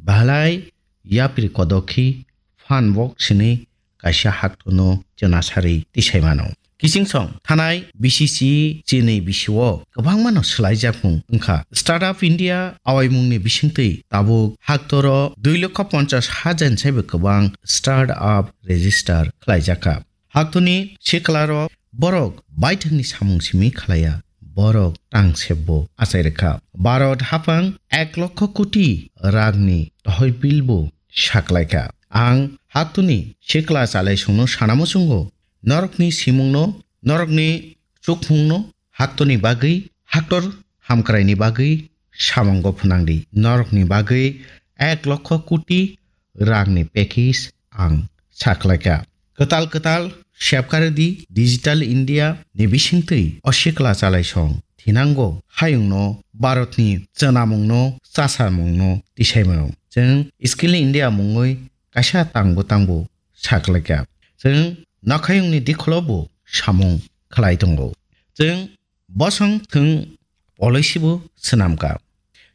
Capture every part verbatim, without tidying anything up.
Belai yapri kodokhi phan wok sini kaisa haktono chwna sari tisai mano. Kiching song thanai B C C chini bisio kwbangmano swlaijakmung wngkha. Startup India awaimungni bisingtwi tabuk haktoro dui lokho ponchas hajar ni saibo kwbang startup register khlaijakha. Haktoni siklarok borok baithangni samung simi khlaiya, borok tang sebbo achai rwkha. Bharat haphang ek lokho koti ragni tohoi bill bo saklaikha. Ang haktoni sikla chalaisongno sana muchungo, norokni simungno, norokni chukmungno haktoni bagwi, haktor hamkraini bagwi samungo phwnangdi. Norokni bagwi ek lokho koti rangni package ang saklaikha. Kwtal kwtal sepkari di Digital India ni bisingtwi o sikla chalaisong thinango hayungno Bharatni chwnamungno chasamungno tisaimano. Chwng Skill India mungwi kaisa tangbo tangbo saklaikha. Chwng nokhayungni dikholo bo samung khlai tongo. Chwng bosong thwng policy bo swnamkha.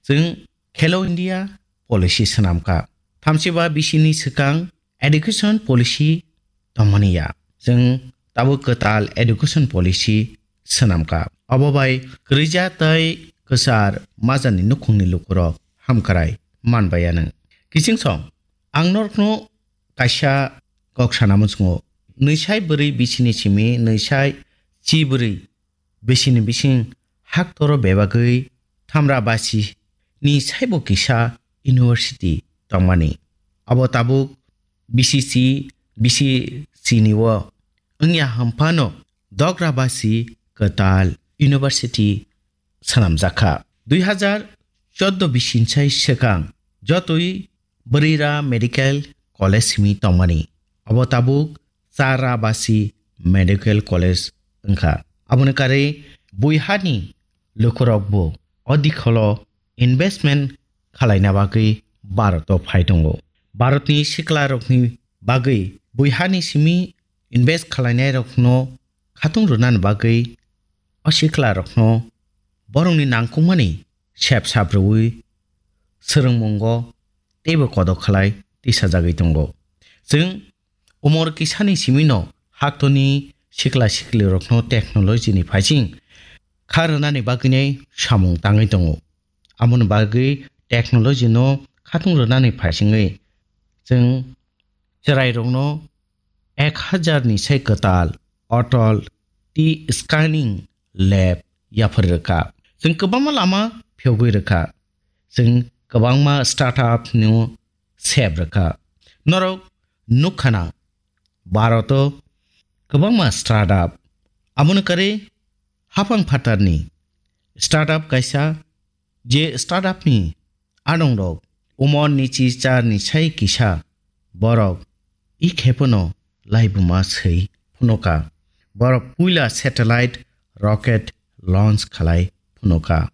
Chwng Khelo India policy swnamkha. Thamchiba bisini swkang education policy tongmani ya. Chwng tabuk kwtal education policy swnamkha. Obo bai kwrwija tei kwchar majani nukhungni lukurok hamkrai manbaiya nwng. Kiching song, ang norokno kaisa kok sana muchungo. Nwisai bwrwi bisini simi nwisai chi bwrwi bisini bising haktoro bebagwi thamra basi ni saibo kisa university tongmani. Abo tabuk B C C, B C C ni o wngya hwnphano dogra basi kwtal university swnamjakha. Dui hazar chordo bising sai swkang jotoi Bwrwira Medical College simi tongmani. Abo tabuk Chara Basi Medical College wngkha. Aboni karwi buihani lukurokbo o dikholo investment khalaina bagwi Bharoto phai tongo. Bharotni siklarokni bagwi buihani simi invest khalainairokno khatung rwnani bagwi o siklarokno borokni nangkukmani sep sap rwui swrwngmungo teibo kodo khlai tisajagwi tongo. Chwng umor kisani simino haktoni sikla siklirokno technology ni phaising kha rwnani bagwinai samung tangwi tongo. Aboni bagwi technology no khatung rwnani phaisingwi chwng chwrairokno ek hajar ni sai kwtal Atal T scanning lab yaphar rwkha. Chwng kwbangma lama phiyogwi rwkha. Chwng kwbangma startup no sep rwkha. Norok nukkhana Bharoto kwbangma startup. Aboni karwi haphang phatarni startup kaisa, je startup ni adongrok umor ni chi char ni sai kisa borok i khepono laibuma swi phunuka. Borok puila satellite rocket launch khalai phunuka.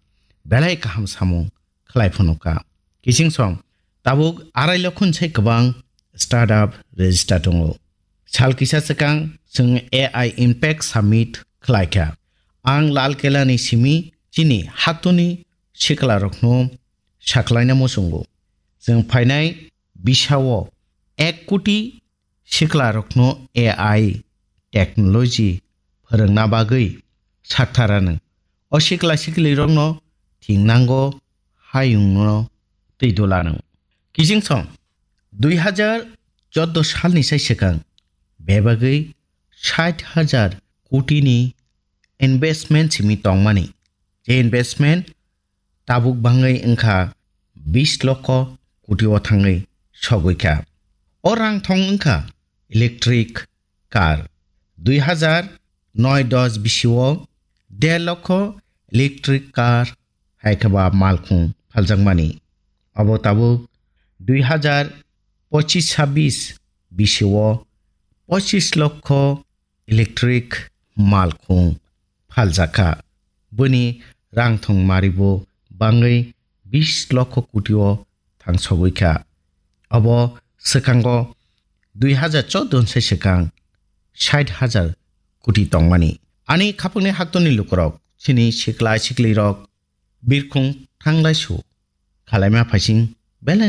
Belai kaham samung khlai phunuka. Kiching song tabuk arai lokhon sai kwbang startup register tongo. Sal kisa swkang chwng A I Impact Summit khlaikha. Ang Lal Kela ni simi chini haktoni siklarokno sakhlaina muchungo. Chwng phainai bisao ek koti siklarokno A I technology phwrwngna bagwi saktharano. O sikla siklirokno thingnango, hayungno twi dulano. Kiching song dui hazar chordo salni sai swkang bebagwi sait hajar kotini investment simi tongmani. Je investment tabuk bangwi wngkha bis lokho koti o thangwi sogwi kha. O rang thong wngkha electric car. Dui hazar noi dos bisio der lokho electric car hai khe ba malkhung phaljakmani. Abo tabuk dui hazar pochis sabis bisio pochis lokho electric malkhung phaljakha. Bini rang thong maribo bangwi bis lokho koti o thangsogwi kha. Abo swkango dui hazar chordo sai swkang sait hajar koti tongmani. Ani khapangni haktoni lukurok, chini sikla siklirok birkhung thanglaisu khalaima phaising